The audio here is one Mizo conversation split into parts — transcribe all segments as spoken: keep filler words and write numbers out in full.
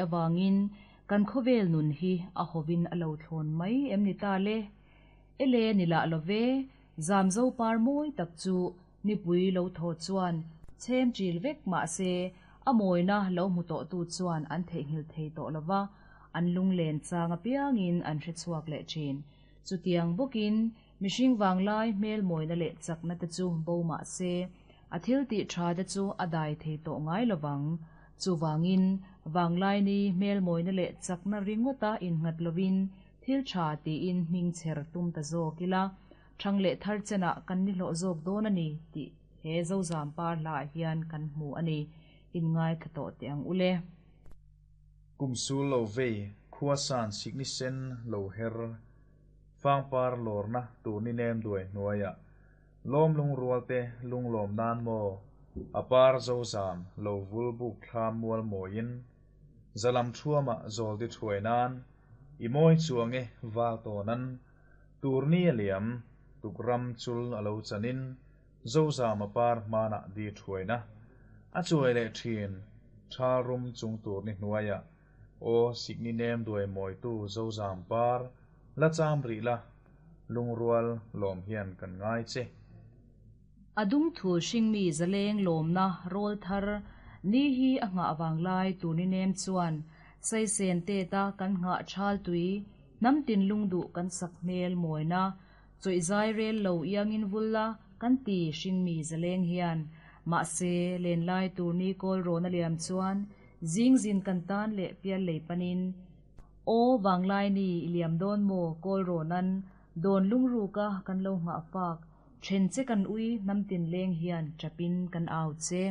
Avangin kan khawvel nun hi a hovin a lo thlawn mai em ni ta le? Ele ni lah love, zamzo par mawi tak chu nipui lo thaw chuan chhem chil vek mah se a mawina lo hmu tawhtu chuan an theihnghilh thei tawh lova, an lunglen chang apiangin an hrechhuak leh thin. Chutiang bawkin mihring vanglai hmel mawina leh chakna te chu bo mah se a thil tih tha te chu a dai thei tawh ngai lovang. Chuvangin vanglai ni hmel mawina leh chakna ringawta innghat lovin thil tha tiin hming chher tum ta zawk ila, thang leh thar chenah kan ni hlawh zawk dawn a ni tih he zozam par hla hian kan hmu a ni. Inngai thla tawh teh ang ule. Kum sul lo vei khuasan sikni sen lo her fangpar lorna turni nem duai hnuaia lom lung rualte lung lom nan mo apar zozam lo vul buk thlam mual moin zalam thuama zol di thuai nan i moi chuange wal tonan turni aliam tukram chul alo chanin zozam apar mana di thuaina a chuai le thin thalrum chung turni hnuaia o sikni nem duai moi tu zozam par la cham ri la lungrual lom hian kan ngai che. Adung thu hringmi zaleng lawmna rawl thar ni hi a ngah wanglai turni nem chuan saisen te ta kan ngah thal tui namtin lungdu kan sak hmel mawina chawih rel lo iangin vulla kan ti hringmi zaleng hian ma se len lai turni kawl rona liam chuan zing zin kan tan le pial lei panin o wanglai ni iliam don mo kawl ronan don lungru ka kan lo nga fak then che kan ui namtin leng hian chapin kan au che.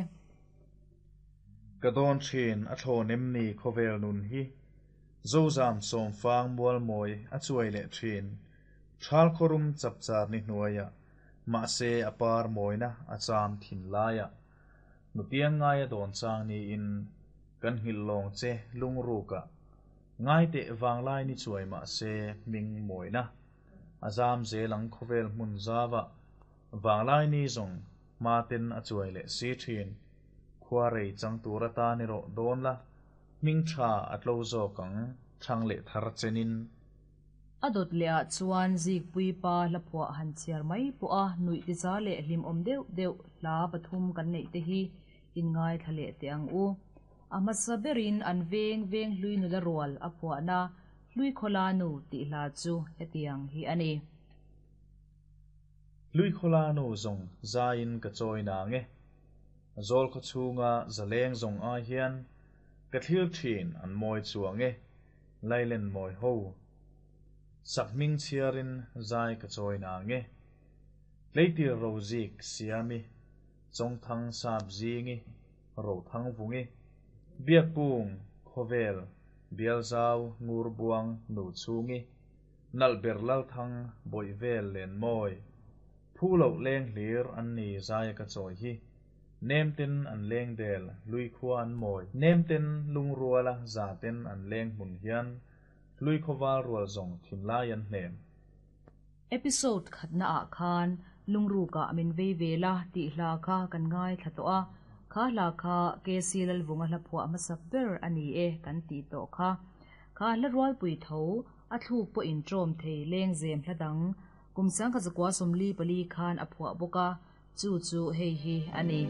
Ka don thin a thlonem ni khovel nun hi zozam som fang mual moi a chuai le thin thal khorum chapchar ni hnuaia ma se apar moina a cham thin laia nutiang ngaia don chang ni in kan hil long che lungru ka ngai te wanglai ni chuai ma se ming moina azam zelang khovel hmun zawa wanglai ni zong ma ten a chuai le si thin khuarei chang tura ta ni ro don la ming tha atlo zo kang thang le thar chenin. Adot le a chuan zik pui pa hla phua han chiar mai pu a nui ti za le hlim om deuh deuh hla pathum kan nei te hi in ngai thlale te ang u. Ama saberin an veng veng hlui nu la rual a phua na hlui khola nu ti hla chu hetiang hi ani. Hlui khola nu zong zain ka choi na nge zol kho chunga zaleng zong a hian ka thil thin an moi chuange lailen moi ho sakming chiarin zai ka choi na nge leitir rozik siami chongthang sap zingi ro thang vungi biakpung khovel bialzau ngurbuang nu chungi nalber lal thang boivel len moi phulo leng hlir an ni zai ka choi hi nemten an leng del lui khua an moi nemten lungruala zaten an leng hmun hian lui khowal rual zong thin lai an hnem. Episode khatna a khan lungru ka min vei vela ti hla kha kan ngai thla a kha hla kha ke silal vunga hla phua masak ber ani e kan ti to kha kha hla rual pui tho a thluk po in trom thei leng zem hladang kumsang kha zakwa somli pali khan a phua boka chu chu hei hi ani.